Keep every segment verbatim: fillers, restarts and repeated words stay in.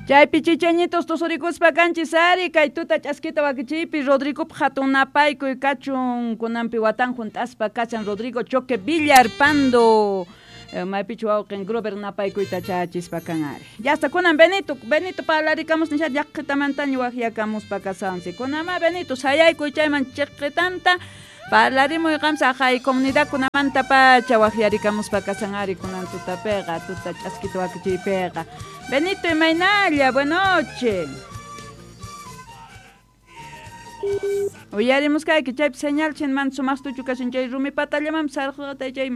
Chaypi chichañitos tusurikuspa kanchis ari kay tuta ch'askita wakichiypi Rodrigo hatun napaykuy kachun kunanpi watan junt'aspa kachan Rodrigo Choque Villarpando maypichu wawqin Grover napaykuyta chachispa kan ari. Ya hasta kunan Benito, Benito parlarikamos nisha llaqtamantaña waqyakamuspa kasansi. Kunama Benito sayaykuy chayman chiqitanta parlarimuy qamsa hay comunidad kunamanta pacha waqyarikamuspa kasan ari kunan tutapiqa tuta ch'askita wakichiypiqa. Benito imaynalla, buenas noches. Uyarimusqayki chaypi señal chin man sumaqtuchu kashan chay rumi patallaman sarqata chay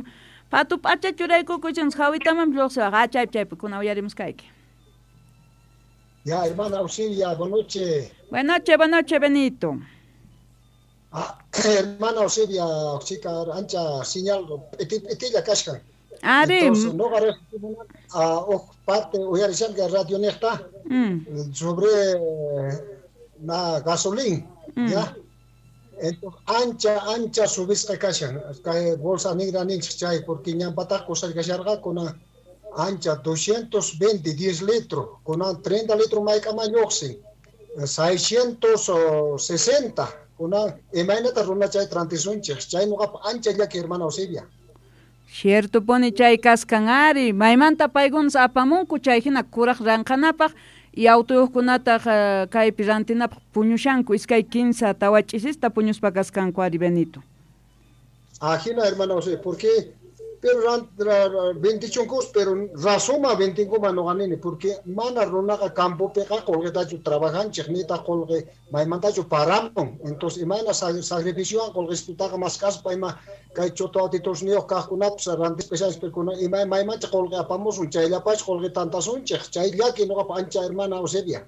patu p'acha churaykukuchin hawitaman lluqsiwaq ah chaypi chaypi kuna uyarimusqayki. Ya, hermana Auxilia, buenas noches. Buenas noches, buenas noches, Benito. Ah, hermana Auxilia, chica, ancha señal, etilla kashkan. Ari. Entonces, no a parte uyarishanka radio nesta mm. sobre na gasolina, mm. ya. Entonces, ancha, ancha subisqa kashan, kay bolsa negra ninchik chay, porque ñanpataq kusarkasharqa kuna ancha doscientos veinte, diez litros, kuna treinta litros mayk'aman lluqsin, seiscientos sesenta, kuna imaynata runa chay trantisunchik, chay nuqapa ancha llaki hermana Eusebia. Cierto pone chay kaskan ari, maymanta paykunas apamunku chay hina kuraq ranqanapaq y autoyuqkunataq uh, kaypi rantinapaq puñushanku iskay kinsa tawa ch'isista puñuspa kaskanku ari Benito. Ajina hermana José, porque pero veintichunkus, pero razuma veintinkuma noqanini, porque mana runaqa campopiqa qolqetachu trabajanchik nitaq qolqe maymantachu paramun, entonces imayna sacrificiowan qolqestutaqa mask'aspa ima kay choto autitosniyuq kaqkunapis rantispa kuna ima maymancha qolqe apamusun chayllapachu qolqe tantasunchik, chay llaki noqapa ancha hermana Eusebia.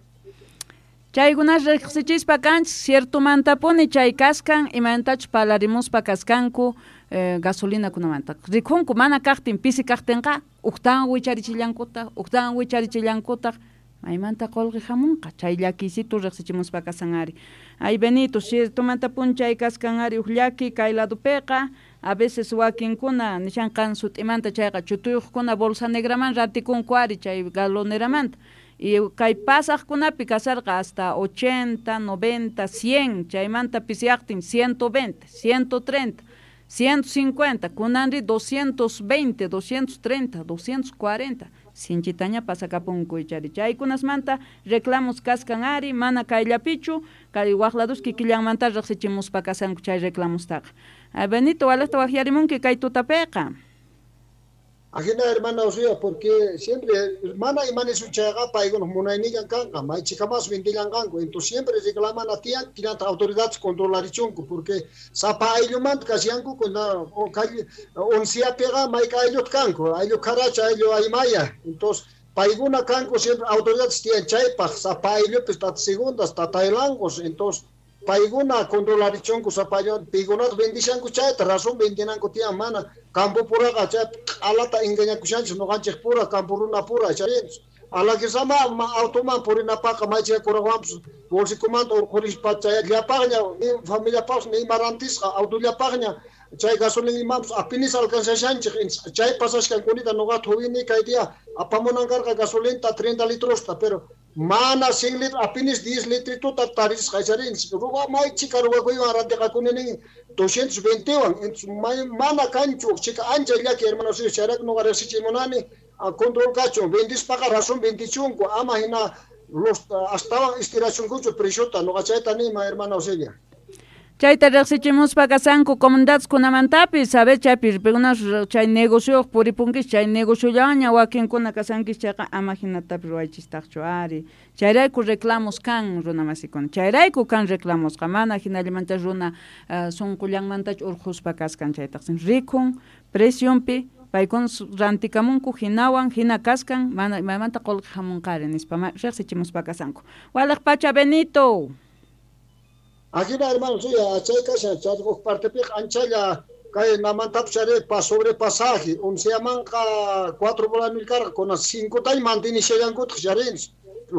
Chaykunas riqsichispa kanchik ciertomantapuni chay kaskan imaynatachus parlarimuspa kaskanku eh, gasolina kunamanta rikhunku mana kaqtin pisi kaqtinqa uqtan wicharichillankutaq uqtan wicharichillankutaq maymanta qolqe hamunqa chay llakiysitu riqsichimuspa kasan ari. Ay Benito, ciertomantapuni chay kaskan ari uq llaki kay ladupiqa a veces wakinkuna nishanqan sut'imanta chayqa chutuyuqkuna bolsa negraman rantikunku ari chay galoneramanta. Y kay pasaqkunapi kasarqa hasta ochenta, noventa, cien, chaymanta pisiaqtin ciento veinte, ciento treinta, ciento cincuenta, kunanri doscientos veinte, doscientos treinta, doscientos cuarenta. Sinchitaña pasakapunku ichari. Chaykunasmanta reclamos kaskan ari, mana kayllapichu, kay waqladus kikillanmanta riqsichimuspa kasanku chay reclamostaqa. Benito, walaqta waqyarimunki kay tutapiqa. Ajena hermana Osía, porque siempre hermana y manesuchaga paigunos munaynillan kanqa, maychikamas ventillan kanku, entonces siempre reclaman a tía, tiranta autoridades controlarichunku, porque sapa ayllumanta kasyanku kuna oncia pega mayka ayllut kanku, ayllu karacha, ayllu aymaya, entonces paiguna kanku siempre autoridades tiyan chaypaq, sapa ayllupis tata segundas, tataylangos, entonces paiguna controlarichunku sapa ayllu, paykunata vendishanku chayta, razón vendinanku tiyan mana campo puraqa chay alata engañakushanchik noqanchik pura campo runa pura chay alakisama automan purinapaqa maychika kuraqwanpis bolsikumanta urqurispa chay llapaqña familiapaqpas ima rantisqa autollapaqña chay gasolina imapas apinis alcanzashanchik chay pasashkankunita noqata juvini kay día apamunan karqa gasolinta treinta litrosta pero mana cien litros apinis diez litrituta tarisqa charinchik ruwa maychika ruwakuywan rantiqakuni nin doscientos veintewan entonces mana kanchu chika ancha llaki hermanos chayrayku noqa riqsichimunani control kachun vendispaqa razón vendichunku ama hina los astawan estirachunkuchu preciota noqa chayta nima hermana Eusebia. Chayta riqsichimuspa kasanku comunidades kunamantapis saber chaypi pikunas chay negocioq puripunkis chay negociollaña wakinkuna kasankis chayqa ama hinatapis ruwaychistaqchu ari. Chayrayku reclamos kan runa masikuna, chayrayku kan reclamosqa mana hinallamanta runa uh, sunqullanmantachu urquspa kaskan chaytaqsin rikhun presionpi paykuna rantikamunku hinawan hina kaskan mana maymanta qolqe hamunqari nispa riqsichimuspa kasanku. Walaq pacha Benito. Ajina hermano, sí, chay kashan, chay partepiq anchalla kay namantapis chari pa sobrepasaje, onceamanqa cuatro bolas mil carga, con cinco tay mantinishallankutaq charinchik.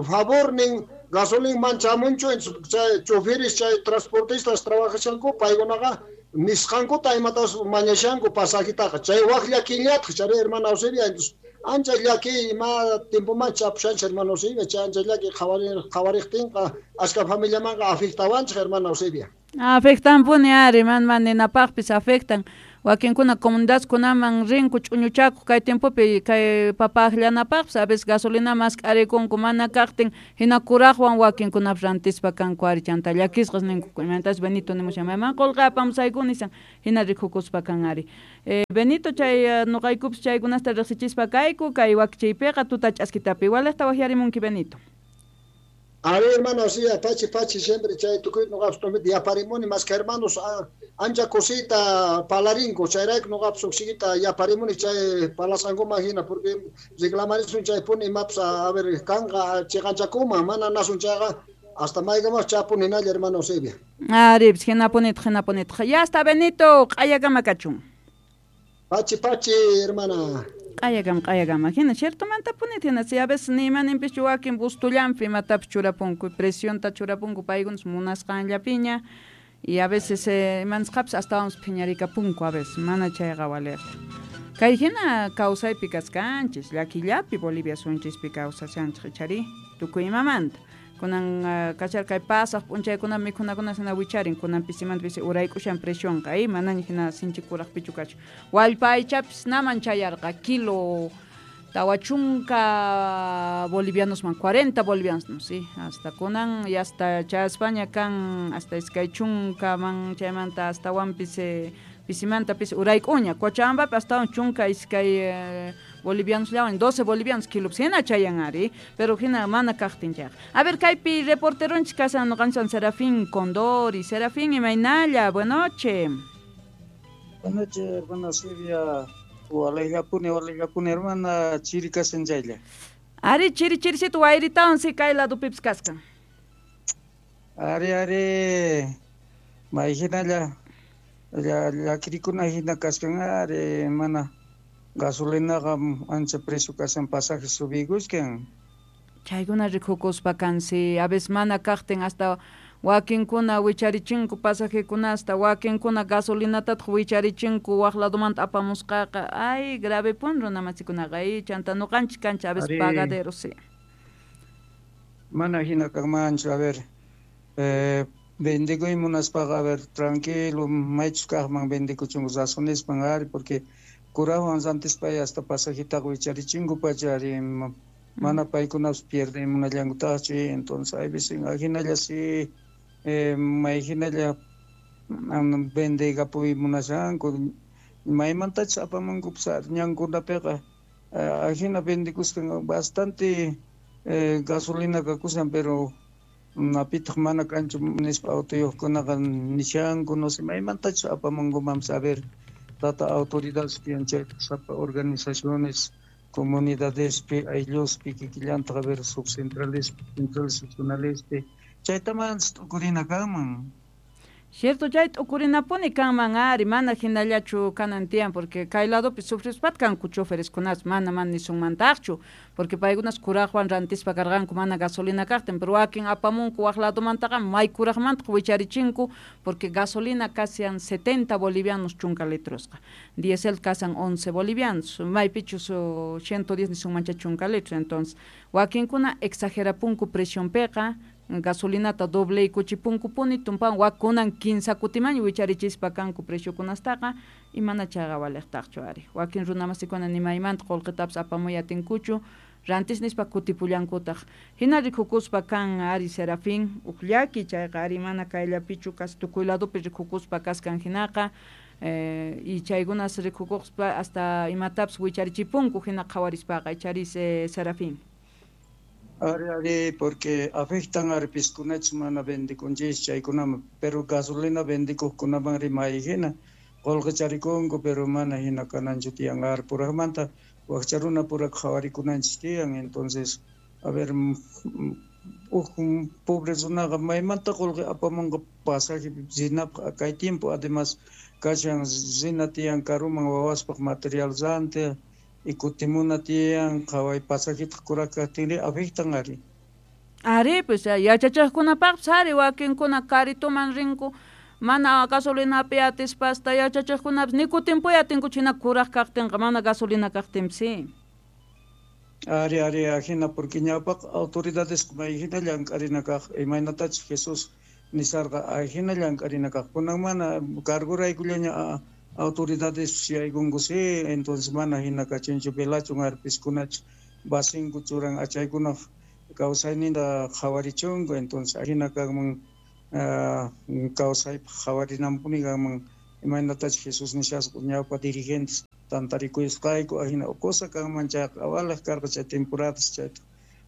Favor nin gasolina manchamunchu, chay choferes, chay transportistas trabajashanku, paykunaqa nisqankuta imatas mañashanku pasajitaqa, chay waq llakillataq chari hermana Eusebia, entonces Ancha llaki ima tiempoman chapushanchik hermano Eusebia, chay ancha llaki qhawariqtinqa ashka familiamanqa afectawanchik hermano Eusebia. Afectanpuni ari, man man ninapaqpis afectan. Wakinkuna comunidadkunaman rinku ch'uñuchakuq kay tiempopi kay papaqllanapaqpis a veces gasolina mask'arikunku mana kaqtin hina kuraqwan wakinkunapis rantispa kanku ari chanta llakisqas ninku imantas Benito nimushan mayman qullqi apamusayku nisan hina rikukuspa kan ari. Eh, Benito chay nuqaykupis chaykunasta riqsichispa kayku kay wakichiypiqa tuta ch'askitapi waliqta waqyarimunki Benito. A ver, hermano, sí, pachi, pachi, siempre chay tukuy nuqapis yaparimuni más que hermanos ancha cosita palarinko chayrayku nuqapis uqsikita yaparimuni chay palasqankuman hina porque reclamarisun chaypuni imapas a ver kanqa chiqanchakuman mana nasun chayqa hasta maykamas chapuni hinalla hermano Eusebia. Ari, hinapunitaq hinapunitaq. Ya está Benito, q'ayakama kachun. Pachi, pachi, hermana. Q'ayakama, q'ayakama. Hina ciertomantapuni hina si a veces ni imaninpischu wakin bustullanpi imatapis churapunku, presionta churapunku paykunas munasqanllapiña y a veces eh, imanisqapis astawanpis phiñarikapunku a veces mana chayqa waliqchu. Kay hina kawsaypi kaskanchis, llakillapi Bolivia sunchispi kawsashanchik ichari tukuy imamanta. Kunan uh, kachar kay pasaq p'unchaykuna mikhunakunas hina wicharin kunan pisimanta pisi urayk'ushan presionqa ay manaña hina sinchi kuraqpichu kachu. Wallpa aychapis naman chayarqa kilo tawa chunka bolivianosman cuarenta bolivianos, sí, hasta kunan y hasta chayaspaña kan hasta iskay chunkaman chaymanta astawanpis eh, pisimanta pisi urayk'uña Cochabambapi astawan chunka iskay eh, bolivianos llawan doce bolivianos kilopis hina chayan ari pero hina mana kaqtin chayqa. A ver kaypi reporteronchik kasan nuqanchik Serafín Condori. Serafín, imaynalla, buenas noches. Buenas noches, hermana Silvia. Walayllapuni, walayllapuni, hermana, chiri kasan chaylla. Ari, chiri chirisito wayritawan si kay ladupipis kaskan. Ari, ari, may hinalla llakirikuna hina kaskan ari mana gasolinaqa ancha precio kasan pasaje subiykuskan. Chaykuna rikukuspa kansi a veces mana kaqtin hasta wakinkuna wicharichinku pasajekunasta wakinkuna gasolinatataq wicharichinku waq ladumanta apamusqaqa ay grave pun runamasikunaqa ay chanta nuqanchik kanchik a veces pagaderos sí. Mana hina kanmanchu a ver eh, vendikuy munaspaqa a ver tranquilo maychus kaqman vendikuchunku razonespan ari porque kuraqwan rantispay hasta pasajitaqa wicharichinku pacha ari mana paykunapas pierden munallankutaqchu entonces hay veces ajinalla sí eh, may hinalla vendeykapuy munashanku maymantachus apamunkupas ñankunapiqa ajina vendekusqan bastante eh, gasolina kakushan pero napitaq mana kanchu nispa autoyuqkunaqa nishanku no sé maymantachus apamunkumanpas a ver tata autoridades tiyan chayta sapa organizaciones comunidadespi aylluspi kikillantaq a ver subcentrales centrales regionalespi chaytamantas t'ukurina kanman. Cierto, chay t'ukurinapuni kanman ari mana hinallachu kanan tiyan porque kay ladopi sufrispat kanku chofereskunas mana mana nisunmantaqchu porque paykunas kuraqwan rantispa karqanku mana gasolina kaqtin pero wakin apamunku waq ladomantaqa may kuraqmantaq wicharichinku porque gasolina casian setenta bolivianos chunka litrosqa diesel kasan once bolivianos maypichus ciento diez nisunmancha chunka litros entonces wakinkuna exagerapunku presionpiqa gasolinata doble kuchipunkupuni tumpan wakunan kinsa kutiman wicharichispa kanku preciokunastaqa y mana chayqa waliqtaqchu ari wakin runamasikuna nimaymanta qullqitapas apamuy atinkuchu rantis nispa kutipullankutaq hina rikukuspa kan ari Serafín uq llaki chayqa ari mana kayllapichu kas tukuy ladopi rikukuspa kaskan hinaqa eh, y chaykunas rikukuspa hasta imatapas wicharichipunku hina qhawarispaqa icharis eh, Serafín. Ari, ari, porque afectan arpiskunachus mana vendikunchis chaykunaman, pero gasolina vendikuqkunaman rimay hina qullqicharikunku pero mana hina kananchu tiyan ari puraqmanta wakcha runa puraq qhawarikunanchis tiyan entonces a ver uj pobre runaqa maymanta qullqi apamunqa pasaje rinapaq kay tiempo además kashan rina tiyan karuman wawaspaq material rantiq y kutimuna tiyan qhaway pasajitaq kuraq kaqtinri afectan ari. Ari pues yachachiqkunapaqpis ari wakinkuna karituman rinku mana gasolinapi atispa hasta yachachiqkunapis ni kutinpuy atinkuchu hina kuraq kaqtinqa mana gasolina kaqtinpis sí. Ari ari ajina porque ñawpaq autoridades mayhina llank'arina kaq imaynatachus Jesús nisarqa ajina llank'arina kaq kunan mana carguraykullaña autoridades yaykunku sí entonces mana hina kachinchu velachun arpiskunachu basinku churan achaykunaq kawsayninta qhawarichunku entonces ajina kanman kawsaypaq qhawarinanpuni kanman imaynatachus Jesús nishasqa ñawpa dirigentes tantarikuyusqayku ajina cosa kanman chayqa awalaq karqa chay temporadas chayta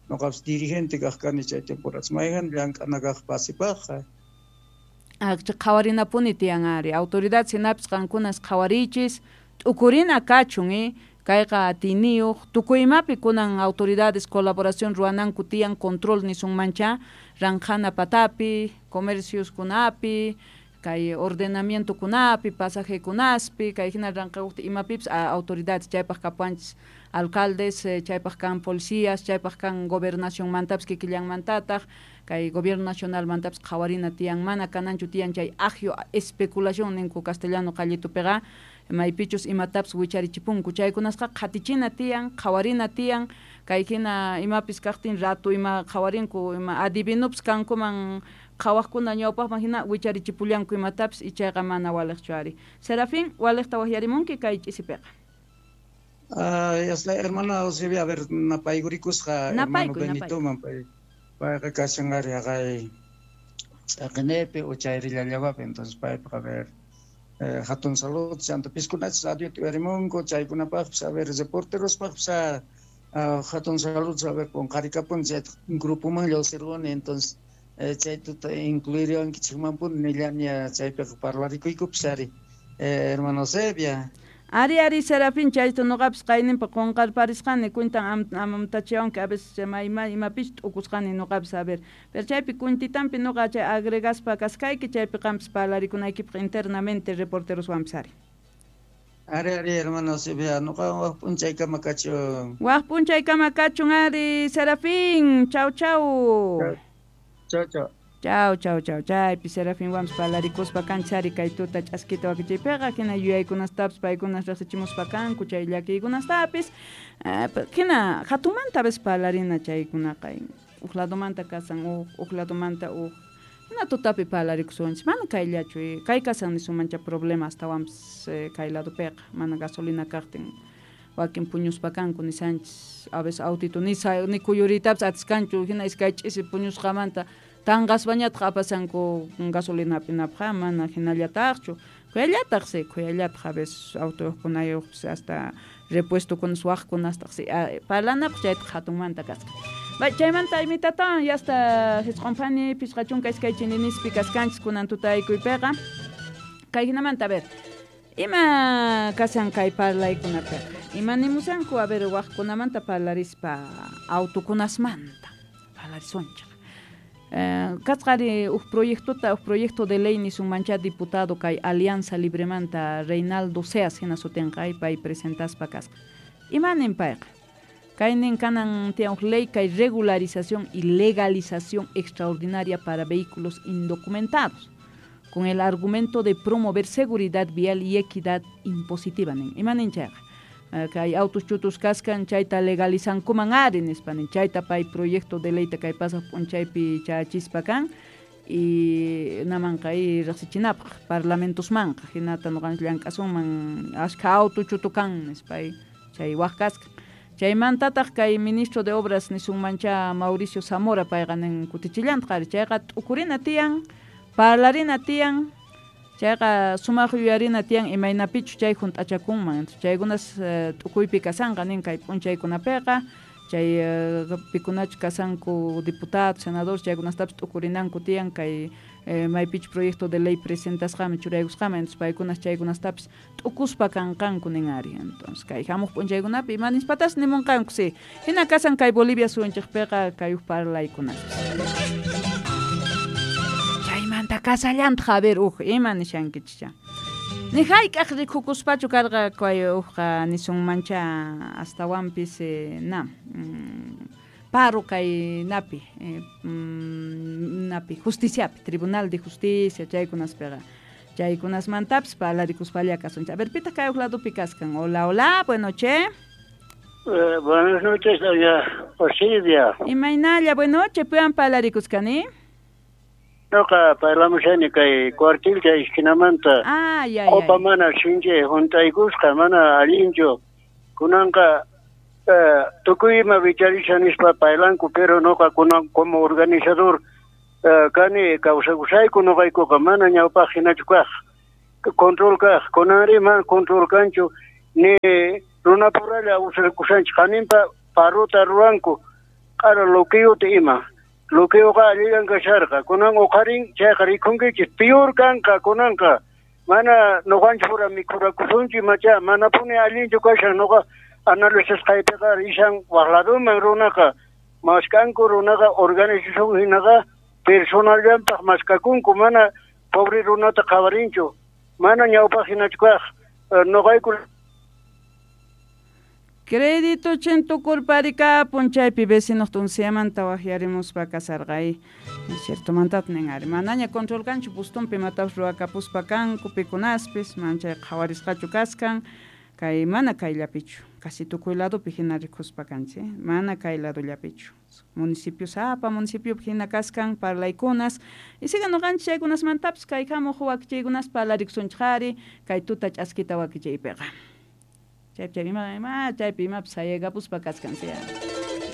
noqapis dirigente kaq kani chay temporadas mayqan llank'ana kaq pasipaqqa qhawarinapuni tiyan ari autoridad hinapis qankunas qhawarichis t'ukurina kachun eh kayqa atiniyuq tukuy imapi kunan autoridades colaboración ruwananku tiyan control nisunmancha ranqhana patapi comercioskunapi kay ordenamientokunapi pasajekunaspi kay hina ranqhawqti imapipis autoridades chaypaq kapuanchis alcaldes chaypaq kan policías chaypaq kan gobernacionmantapis kikillanmantataq kay gobierno nacionalmantapis qhawarina tiyan mana kananchu tiyan chay agio especulación ninku castellano qallitupiqa maypichus imatapis wicharichipunku chaykunasqa qhatichina tiyan qhawarina tiyan kay hina imapis kaqtin rato ima qhawarinku ima adivinupis kankuman qhawaqkuna ñawpaqman hina wicharichipullanku imatapis ichayqa mana waliqchu ari Serafín waliqta waqyarimunki kay ch'isipiqa. Ah, yasla hermana Eusebia, a ver napaykurikusqa hermano Benitoman pay payqa kashan ari haqay ch'aqinepi o chayrillallawapi entonces paypaq a ver eh, hatun salud chanta piskunachis radiota uyarimunku chaykunapaqpis a ver reporterospaqpis hatun salud a ver qunqarikapuni chayta grupoman lluqsirquni entonces chay tuta incluiriwankichikmanpuni nillania chaypiqa parlarikuykupis ari hermano Eusebia. Ari ari Serafín chayta noqapis qayninpa qunqarparisqani cuentan amamtachiwanki a veces mayma imapis t'ukusqani noqapis a ver pero chaypi cuentitampi noqa chay agregaspa kaskayki chaypi qampis parlarikunaykipaq internamente reporteroswanpis ari. Ari ari hermano Eusebia noqa waq p'unchaykama kachun. Waq p'unchaykama kachun ari Serafín chau chau. Chau chau. Chau, chau, chau, chaypi Serafín wanpis parlarikuspa kanchis ari kay tuta ch'askita wakichaypiqa hina yuyaykunastapis paykunas riqsichimuspa kanku chay llakiykunastapis hina hatunmanta a veces parlarina chaykunaqa uq ladomanta kasan uq uq ladomanta uq hina tutapi parlarikusunchis mana kayllachu kay kasan nisunmancha problema astawanpis kay ladopiqa mana gasolina kaqtin wakin puñuspa kanku nisanchis a veces autito nisa ni kuyuriytapis atiskanchu hina iskay ch'isi puñusqamanta tanqaspañataq apasanku gasolina hap'inapaq mana hinallataqchu khuyallataq sí khuyallataq a veces autoyuqkunayuqpis hasta repuestokunas waqkunastaq sí parlanapaq chaytaq hatunmanta kasqa chaymanta imitatawan yasta hisq'unphani phisqa chunka iskay chininispi kaskanchis kunan tutaykuypiqa kay hinamanta a ver ima kasan kay parlaykunapiqa ima nimusanku a ver waqkunamanta parlarispa autokunasmanta parlarisunchik kasqari uj proyectota uj proyecto de ley nisunmancha diputado kay Alianza Libremanta Reinaldo Seas hina sutinqa pay presentaspa kasqa imanin payqa kaynin kanan tiyan uj ley kay regularización y legalización extraordinaria para vehículos indocumentados con el argumento de promover seguridad vial y equidad impositiva nin imanin chayqa kay autos chutus kaskan chayta legalizankuman ari nispa nin chayta pay proyecto de leyta kay pasaq p'unchaypi chachispa kan y namanqa y riqsichinapaq parlamentosmanqa hinata nuqanchis llank'asunman ashkha auto chutu kan nispa chay waq kaskan chaymantataq kay ministro de obras nisunmancha Mauricio Zamora payqa nin kutichillantaq ari chayqa t'ukurina tiyan parlarina tiyan chayqa sumaq yuyarina tiyan imaynapichu chay hunt'achakunman chaykunas t'ukuypi kasanqa nin kay p'unchaykunapiqa chay pikunachu kasanku diputado senador chaykunastapis t'ukurinanku tiyan kay maypichu proyecto de ley presentasqaman churaykusqaman entonces paykunas chaykunastapis t'ukuspa kanqanku nin ari entonces kay hamuq p'unchaykunapi ima nispatas nimunqanku sí hina kasan kay Bolivia suyunchikpiqa kay uj parlaykunaspis chaymanta kasallantaq a ver uj ima nishankichikcha ni hayk'aq rikukuspachu karqa kay ujqa nisunmancha astawanpis na paro kay napi eh, napi justiciapi Tribunal de Justicia chaykunaspiqa chaykunasmantapis parlarikuspalla kasunchik a ver pitaq kay uj ladopi kaskan hola hola buenas noches. Eh, buenas noches, doña Osilvia. Imaynalla, buenas noches, piwan parlarikuskani? Noqa parlamushani kay cuartilcha esquinamanta. Ah, ya, Opa ya. mana sinchi juntaykusqa, mana allinchu. Kunanqa eh, tukuy ima wicharisha nispa paylanku, pero noqa kunan como organizador eh, kani kawsakushayku noqaykuqa mana ñawpaq hinachu kaq. Control kaq, kunanri mana control kanchu, ni runapuralla usarkushanchik, qaninpa parruta ruranku, q'ara loquiyuta ima. Loquiyuqa allillan kasharqa, kunan uqarin chayqa rikunkichik, pior kanqa kunanqa. Mana noqanchik pura mikhurakusunchik macha, manapuni allinchu kashan noqa analizasqaypiqa rishan waq laduman runaqa, maskanku runaqa organización hinaqa personallanpaq maskakunku, mana pobre runata qhawarinchu, mana ñawpaq hinachu kaq. Eh, noqayku Crédito chintukurparikapun chaypi vecinos tunsiamanta waqyarimuspa kasarqay. Ciertomantat nin ari, manaña control kanchu pustunpi imatapas ruwakapuspa kanku pikunaspis, manchay qhawarisqachu kaskan, kay mana kayllapichu, casi tukuy ladopi hina rikuspa kanchik, mana kay ladollapichu. Municipio sapa, municipiopi hina kaskan parlaykunas, y siga noqanchik chaykunasmantapis kay hamuq wakichiykunas parlarikusunchik ari, kay tuta ch'askita wakichiypiqa. Chaypi chaypi ima, ima, chaypi imapas sayaykapushpa kaskan, sí.